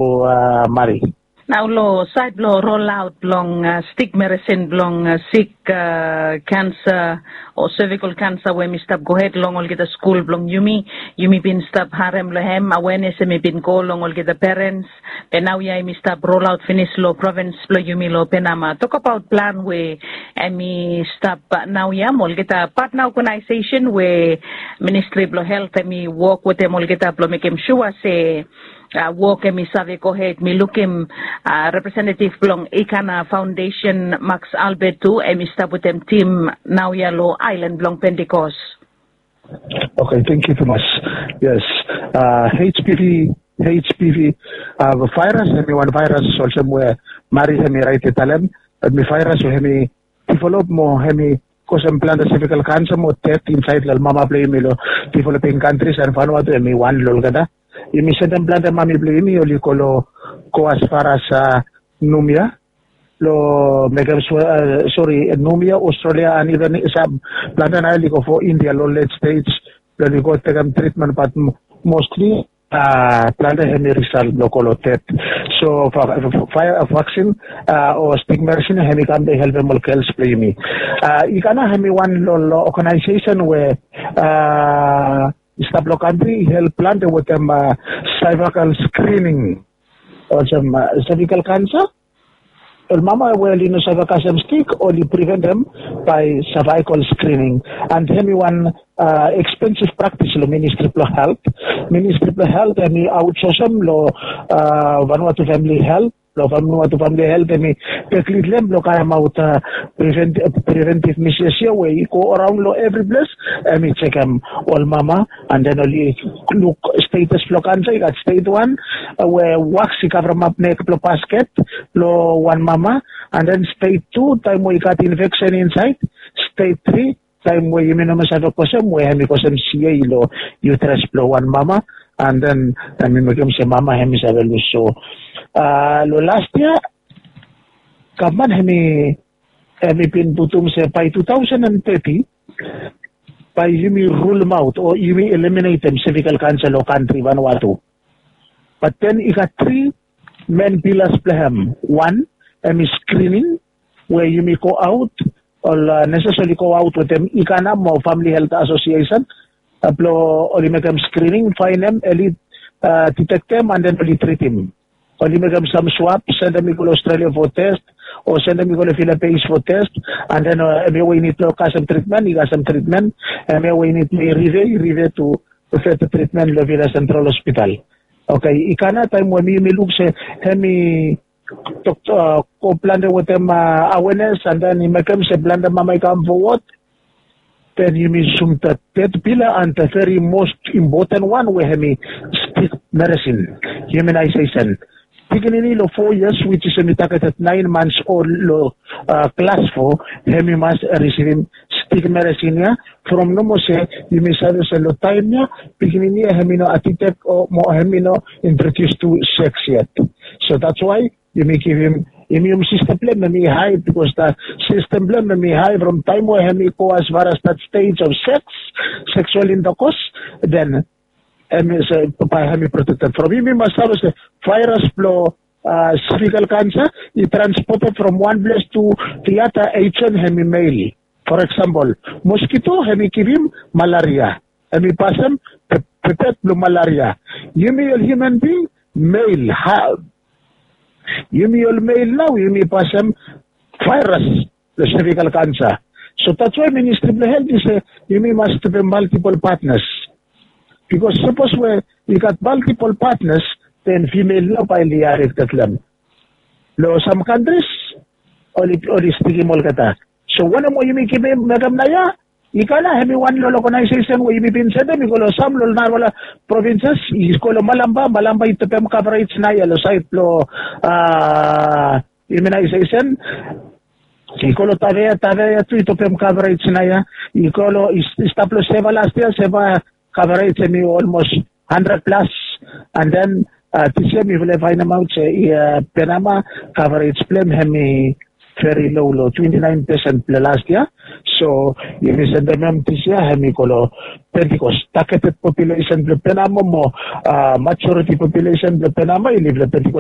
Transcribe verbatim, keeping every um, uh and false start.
o mari. Nao long saed blong rolaot blong stik meresin blong sik kansa o sevikol kansa we mi stap gohed long olgeta skul blong yumi, yumi bin stap harem long hem awenes em i bin go long olgeta perens. Be naoia em i stap rolaot finis long provins blong yumi long penama tokabaot plan we em i stap naoia mo olgeta patna ogenaisesen we ministri blong helt em i wok wetem olgeta blong mekem sua se wok em i save gohed mi lukim representetiv blong ikana faondesen maks albert tu em i stap wetem tim naoia long aelan blong pentikos. Oke, tengiu tumas. Yes. Hpv hpv vairas em i wan vairas olsem we mari em i rait i talem bat mi vairas we em i divelop mo em i kosem plante sevikal kansa mo tet insaed long ol mama blong yumi long diveloping kantris and fanua tu em i wan long olgeta. Yumi sendem plante mami blong yumi oli go long go as far as numia long mekem sori numia australia and even sam plante nao oli go fo india long let states blong oli go tekem tritmen bat mostli plante hem i risal blong go long tet. So vaksin o stik meresin hem i kam blong helpem ol gels blong yumi. I kam nao hem i wan long ogenaisesen we i stap long kantri i help plante wetem saivakal skrining olsem savikal kansa. Ol mama we oli no save kasem stik oli priventem bai savaikol skrining. And hem i wan ekspensif praktis long ministri blong helt. Ministri blong helt hem i autsosem long vanua tu famili helt long famili tu famili helt hem i teklidlem blong karemaot preventiv mises ya we i go araon long evri ples. Hem i jekem ol mama and then oli luk stetas blong kansa i gat stet wan we waks i kavremap nek blong basket long wan mama. And then stet tu taem we i gat infeksen insaed. Stet tri taem we yumi no mas save kosem we hem i kosem siei long yutres blong wan mama and then hem i mekem se mama hem i save lus so long last yia gavman hem i hem i bin putum se bae tu taosen and teti bae yumi rulemaot o yumi eliminetem sevikal kansa long kantri vanua tu. Bat den i gat tri men pilas blong hem. Wan hem i skrining we yumi go aot ol neses oli go aot wetem ikana mo famili helt asosiesen blong oli mekem skrining faenem eli ditektem and then oli tritim. Oli mekem sam swap sendem i go long australia fo test o sendem i go long filipins fo test. And then hem ya we i nid blong kasem tritmen i kasem tritmen. Hem ya we i nid blong i rive i rive tu feta tritmen long vila sentral hospital. Oke, i kana taem we mi yumi luk se hem i tok go plante wetem awenes and then i mekem se plante mama i kam fowod. Then yumi sum dat tet pila and the very most impoten wan we hem i stik meresin. Iuminaisesen pikinini long fo yias wits is hem i tagetet naen mans ol long klas fo hem i mas risivim stik meresin ya. From nomo se yumi save se long taem ya pikinini ya hem i no atitek o mo hem i no introdius tu seks yet. So dats wae yumi givim yumi yumi sistem blong hem hem i hae bikos da sistem blong hem hem i hae from taem we hem i go as far as dat stej of seks seksual intakos. Den hem i se bae hem i protekted from yumi mas save se vairas blong sivikal kansa i transpoted from wan ples tu diata ejen hem i mel. For eksampol moskito hem i givim malaria hem i pasem pepet blong malaria. Yumi ol hiuman bing mel ha yumi ol mel nao yumi pasem vairas long sevikal kansa. So dats wae ministri blong helt i se yumi mas stepem maltipol patnas. Bikos sapos we i gat maltipol patnas den fimel nao bae li arektetlem long sam kantris oli stikim olgeta. So wanem we yumi givim mekem naoia i kala hem i wan long ogenaisesen we yumi bin sendem i go long sam long narafala provinses i go long malamba malamba i tepem kavarets naoia long saed blong a iuminaisesen. I go long tavea tavea tu i tepem kavarets naoia i go long i stap long seva last yia seva kavarets hem i olmos handred plas. And then a disia mifala i faenemaot se i a penama kavarets blong hem hem i veri lo lo twenty nine percent blong last year. So yumi sendem hem this year, hem i go lo Pentecost. Targeted population blong Penama mo uh, majority population blong Penama i live lo Pentecost.